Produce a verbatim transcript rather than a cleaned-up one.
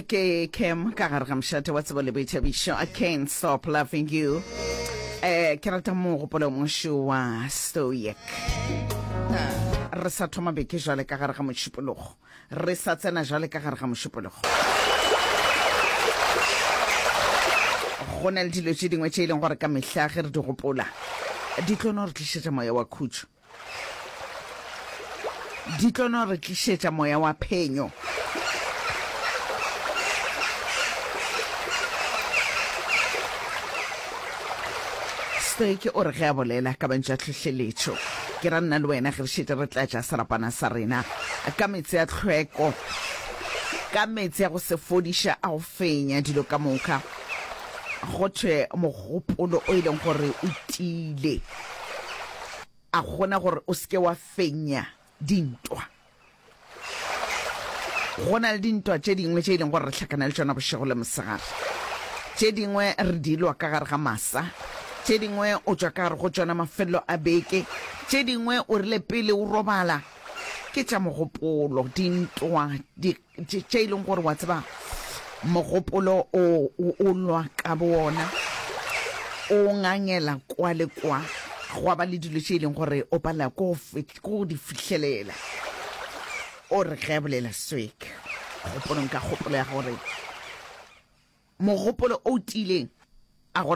Ke Cam ka gare ga mošate wa tsebo le boithabišo. I can't stop loving you. Eh, ke rata mogopolo mošo wa Stoic. Re sa thoma beke jwale ka gare ga mošupologo. Re sa tsena jwale ka gare ga mošupologo. Go na le dilo tše dingwe tše e leng gore ka mehla ge re di gopola di tlo no re tlišetša moya wa khutšo. Di tlo no re tlišetša moya wa phenyo. Stoic o re ge a bolela ka mantšu a tlhohleletšo, ke ra nna le wena ge re šetše re tlatša serapana sa rena ka meetse a tlhweko, ka meetse a go se fodiša a go fenya dilo ka moka, go thwe mogopolo o e leng gore o tiile, a gona gore o se ke wa fenya dintwa. Go na le dintwa tše dingwe tše e leng gore re hlakana le tšona bošego le mosegare. Tše dingwe re di lwa ka gare ga masa, tše dingwe o tšwa ka gare go tšona mafelelo a beke, tše dingwe o rile pele o robala. Ke tša mogopolo, dintwa di, tše, tše e leng gore wa tseba mogopolo o, o, o lwa ka bowona, o ngangela kwa le kwa, gwa ba le dilo tše e leng gore o palela ko go, ko go di fihlelela. O re ge a bolela Swick, kgopolong ka kgopolo ya gore mogopolo o tiileng